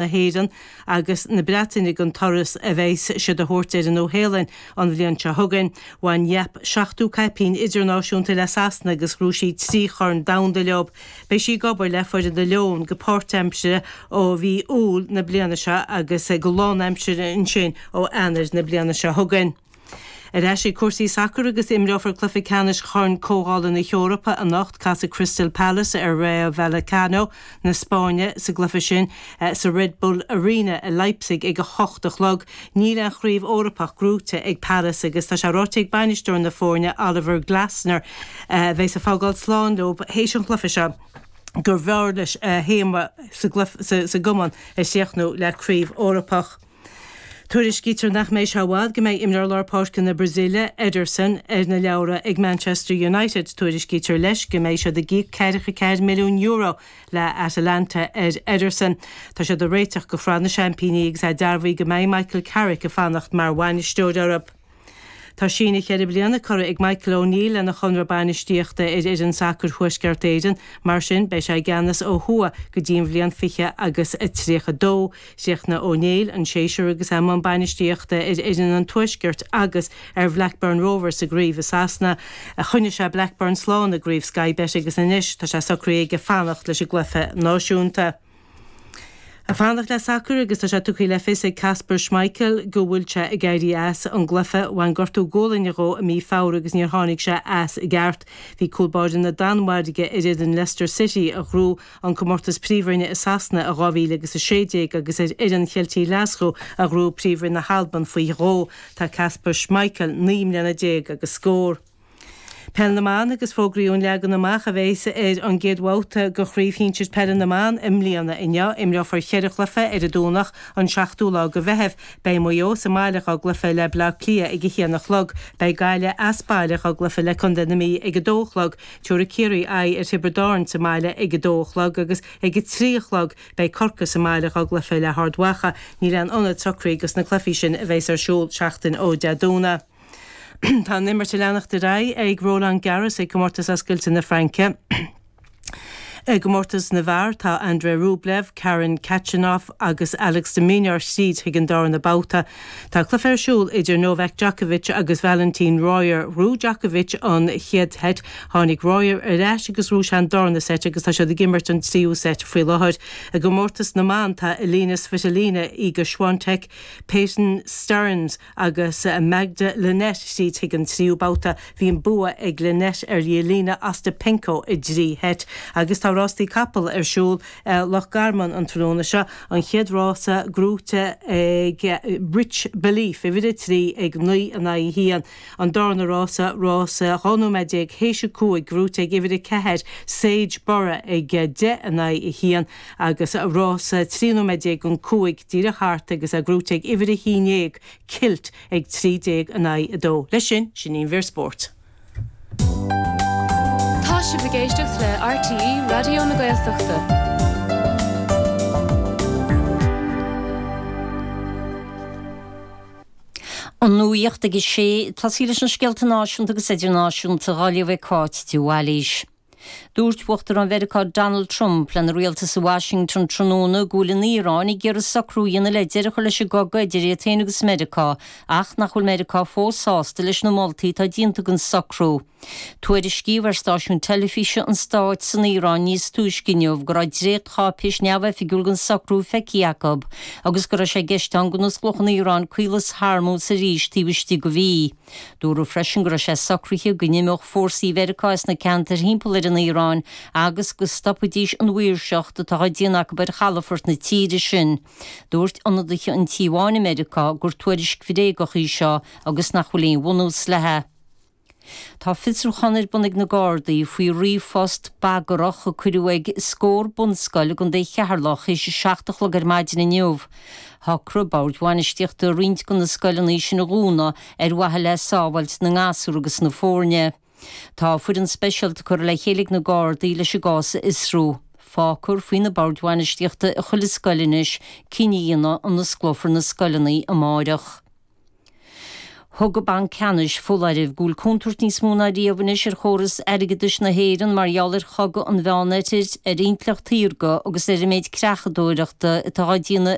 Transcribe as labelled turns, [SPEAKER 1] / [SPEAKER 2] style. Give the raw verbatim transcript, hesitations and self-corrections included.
[SPEAKER 1] na hÉireann agus na Breataine den turas a bheas siad a thabhairt ar an Nua-Shéalainn an bhliain seo chugainn. Bhain Yapp seachtó caipín idirnáisiúnta le Sasana agus ghnóthaigh sí trí chorn domhanda leo. Beidh sí ag obair le foireann na Leon go páirtaimseartha ó mhí Iúil na bliana seo agus go lánaimseartha ansin ó Eanáir na bliana seo chugainn. Ar ais ag cúrsaí sacair agus imreofar cluiche ceannais Chorn Comhdhála na hEorpa anocht. Casfaidh Crystal Palace ar Rayo Vallecano na Spáinne sa gcluiche sin sa Red Bull Arena i Leipzig ag a hocht a chlog. Níl aon chraobh Eorpach gnóthaithe ag Palace agus tá sé ráite ag bainisteoir na foirne Oliver Glasner, a bheas ag fágáil slán leo théis an chluiche seo, gurbh fhearr leis a théarma sa gcumann a chríochnú le craobh Eorpach. Tuairiscítear nach mbeidh sé i bhfad go mbeidh imreoir lár páirce na Brasaíle, Ederson, ar na leabhra ag Manchester United. Tuairiscítear leis go mbeidh siad ag íoc ceathracha ceathair milliún euro le Atalanta ar Ederson. Tá siad ag réiteach do Shraith na Seaimpíní agus é dearbhaithe go mbeidh Michael Carrick ag fanacht mar bhainisteoir orthu. Tá síneadh ceithre bliana curtha ag Michael O'Neill lena chonradh bainistíochta ar fhoireann sacair Thuaisceart Éireann. Mar sin, beidh sé i gceannas ó thuaidh go dtí an bhliain fiche agus a tríocha dó. Chríochnaigh O'Neill an séasúr agus é i mbun bainistíochta ar fhoireann an Tuaiscirt agus ar Bhlackburn Rovers sa gcraobh i Sasana. Choinnigh sé Blackburn slán i gcraobh Sky Bet agus anois tá sé socraithe aige fanacht leis an gcluiche náisiúnta. Ag fanacht le sacar agus tá sé tugtha le fios ag Kasper Schmeichel go bhfuil sé ag éirí as an gcluiche. Bhain gortú gualainne dhó i mí Feabhra agus níor tháinig sé as i gceart. Bhí cúl báire na Danmhairge ar fhoireann Leicester City a ghnóthaigh an comórtas Príomhroinne i Sasana i dhá mhíle agus a sé déag agus ar fhoireann Cheiltigh Ghlaschú a ghnóthaigh Príomhroinn na hAlban faoi dhó. Tá Kasper Schmeichel naoi mbliana déag agus scór. Peil na mBan agus fógraíodh an leagan amach a bheas ar an gcéad bhabhta de Chraobh Shinsir Peile na mBan i mbliana inniu. Imreofar cheithre chluiche ar an Domhnach, an seachtú lá de Mheitheamh. Beidh Maigh Eo sa mbaile dhá gcluiche le Baile Átha Cliath ag a haon a chlog. Beidh Gaillimh as baile dhá gcluiche le Contae na Mí ag a dó a chlog. Tabharfaidh Ciarraí aghaidh ar Thiobraid Árann sa mbaile ag a dó a chlog agus ag a trí a chlog beidh Corcaigh sa mbaile dhá gcluiche le hArd Mhacha. Níl aon ionad socraithe dos na cluichí sin a bheas ar siúl seachtain ó Dé Domhnaigh. Tá an imirt ag leanacht ar aghaidh ag Roland Garros ag Comórtas Oscailte na Fraince. I gcomórtas na bhfear tá Andrei Rublev, Karen Khachanov agus Alex de Minaur tríd chuig an darna babhta. Tá cluiche ar siúl idir Novak Djokovic agus Valentin Royer. Ghnóthaigh Djokovic an chéad seit, tháinig Royer ar ais agus ghnóthaigh sé an darna seit agus tá siad ag imirt an tríú seit faoi láthair. I gcomórtas na mban tá Elina Svitolina, Iga Swiatek, Peyton Stearns agus Magda Linette tríd chuig an tríú babhta. Bhí an bua ag Linette ar Jelena Ostapenko i dtrí sheit. Agus tá rástaí capall ar siúl i Loch Garman an tráthnóna seo, an chéad rása gnóthaithe ag Rich Belief, uimhir a trí ag naoi in aghaidh a haon. An darna rása, rása dhá nóiméad déag théis a cúig, gnóthaithe ag uimhir a ceathair, Sage Borough ag deich in aghaidh a haon agus rása trí nóiméad déag don cúig díreach thart agus é gnóthaithe ag uimhir a haon déag, Kilt, ag trí déag in aghaidh a dó. Leis sin, sin í an mhír spóirt.
[SPEAKER 2] Tá sibh ag éisteacht le RTÉ Raidió na Gaeltachta.
[SPEAKER 3] An nuacht ag a sé, ag tosaí leis na scéalta náisiúnta agus idirnáisiúnta á léamh ag Cáit de Bhailís. Dúirt Uachtarán Mheiriceá Donald Trump lena rialtas i Washington tráthnóna go bhfuil an Iaráin ag iarraidh socrú a dhéanamh le deireadh a chur leis an gcogadh idir iad féin agus Meiriceá ach nach bhfuil Meiriceá fós sásta leis na moltaí atá déanta don socrú. Tuairiscíodh ar stáisiún teilifíse an stáit san Iaráin níos túisce inniu go raibh dréachtcháipéis neamhoifigiúil den socrú feicthe acu agus go raibh sé i gceist ann go n-osclódh an Iaráin Caolas Hormuz arís taobh istigh de mhí. Dúradh freisin go raibh sé socraithe go n-imeodh fórsaí Mheiriceá as na ceantair thimpeall ar an Iaráin agus go stopfaidís an mhaoirseacht atá á déanamh acu ar chalafort na tíre sin. Dúirt ionadaithe an Tí Bháin i Meiriceá gur tuairisc bhréagach í seo agus nach bhfuil aon bhunús léi. Tá fiosrúchán ar bun ag na Gardaí faoi ríomhphost bagrach a cuireadh ag scór bunscoil i gContae Cheatharlach théis a seacht a chlog ar maidin inniu. Shocraigh boird bhainistíochta roinnt de na scoileanna sin a dhúnadh ar mhaithe le sábháilt na ngasúr agus na foirne. Tá foireann speisialta curtha le chéile ag na Gardaí leis an gcás a fhiosrú. Fágfar faoi na boird bhainistíochta i chuile scoil anois cinneadh a dhéanamh an osclófar na scoileanna amáireach. Thug an Banc Ceannais foláireamh go bhfuil contúirt níos mó ná riamh anois ar chóras airgeadais na hÉireann mar gheall ar chogadh an Mheánoirthir, ar intleacht shaorga agus ar an méid creachadóireachta atá á déanamh